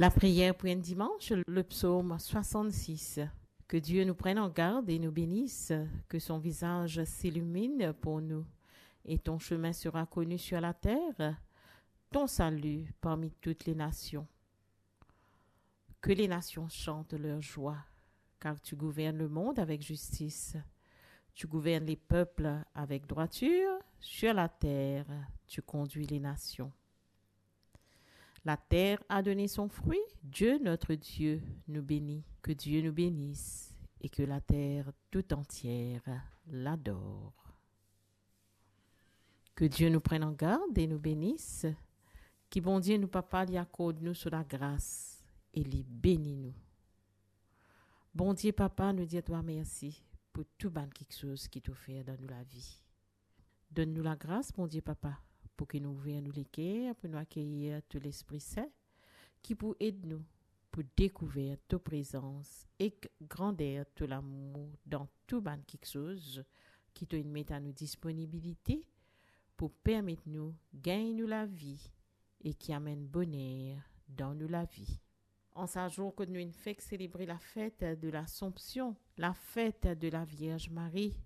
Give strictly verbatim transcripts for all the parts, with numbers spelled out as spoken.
Lapriyer pou enn dimans, le psaume soixante-six. Que Dieu nous prenne en garde et nous bénisse, que son visage s'illumine pour nous, et ton chemin sera connu sur la terre, ton salut parmi toutes les nations. Que les nations chantent leur joie, car tu gouvernes le monde avec justice. Tu gouvernes les peuples avec droiture, sur la terre, tu conduis les nations. La terre a donné son fruit, Dieu notre Dieu nous bénit. Que Dieu nous bénisse et que la terre tout entière l'adore. Que Dieu nous prenne en garde et nous bénisse. Ki Bondie nou Papa li akord nou so lagras e li beni nou. Bondie Papa, nou dir twa mersi pou tou bann kiksoz ki to fer dan nou lavi. Donn nou lagras, Bondie Papa, pou ki nou ouver nou leker, pou nou akeyir to Lespri Sin, ki pou ed nou pou dekouver to prezans ek grander to lamour dan tou bann kiksoz ki to inn met a nou disponibilite pou permet nou gagn nou lavi e ki amenn boner dan nou lavi. An sa zour kot nou inn fek selebre lafet de Lasompsion, lafet de Lavierz Marie,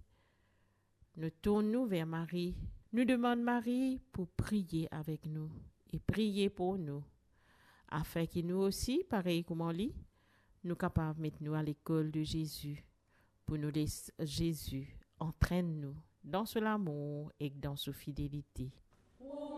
nou tourn nou ver Marie, nou demann Marie pou priye avek nou e priye pou nou, afin ki nou osi, parey kouma li, nou kapav met nou a lekol de Zezi, pou nou les Zezi antrenn nou dan so lamour ek dan so fidelite.